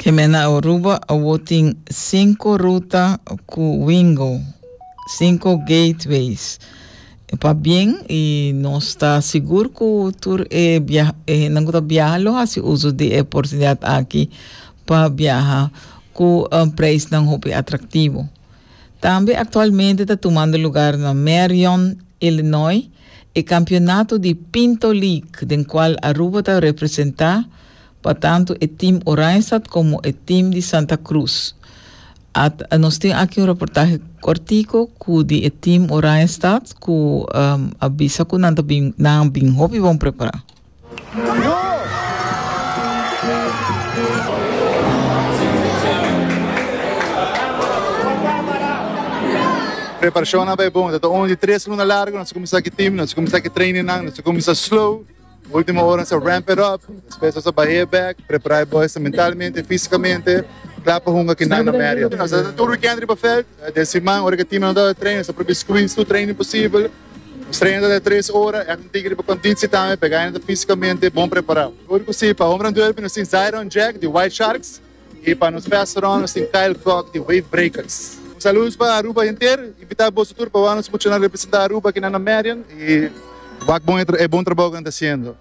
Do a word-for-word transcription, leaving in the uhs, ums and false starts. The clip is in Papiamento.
Ke men na Aruba awor tin sinku ruta ku Wingo, sinku gateways. Pabien, i nos ta sigur ku tur e bia e nan ku ta biaha lo hasi uso di e oportunidat aki pa biaha ku un prijsnan hopi atraktivo. Tambe aktualmente ta tumando lugá na Marion, Illinois, e kampeonato di Pinto League, den kual Aruba ta representá pa tantu e team Oranjestad komo e team di Santa Cruz. At, nos tin aki un reportahe kòrtiku ku di e team Oranjestad ku um, a bisa ku nan bin nan bin hopi bon prepará. Preparashon a bai bon. Ta un di tres luna largu, nos a kuminsá ku team, nos a kuminsá ku training nan, nos a kuminsá slow. Último ora nos a ramp it up, despues nos a bah'é bèk, prepará e boys mentalmente, físikamente, kla pa hunga kinan na Marion. Nos a tur weekend riba vèlt, den siman ora ku e team nan tabata train, nos a probeer squeeze tur training posibel. Nos train tabata tres ora, ègt un tiki riba konditsie tambe, pa e gainan ta físikamente bon prepará. Ora ku si, pa Home Run Derby nos tin Zyron Jack di White Sharks. I pa nos restaurant nos tin Kyle Kock di Wave Breakers. Un saludos pa Aruba henter, invita boso tur pa wak nos muchanan representa Aruba akinan na Marion i wak bon e bon trabou ku nan ta hasiendo.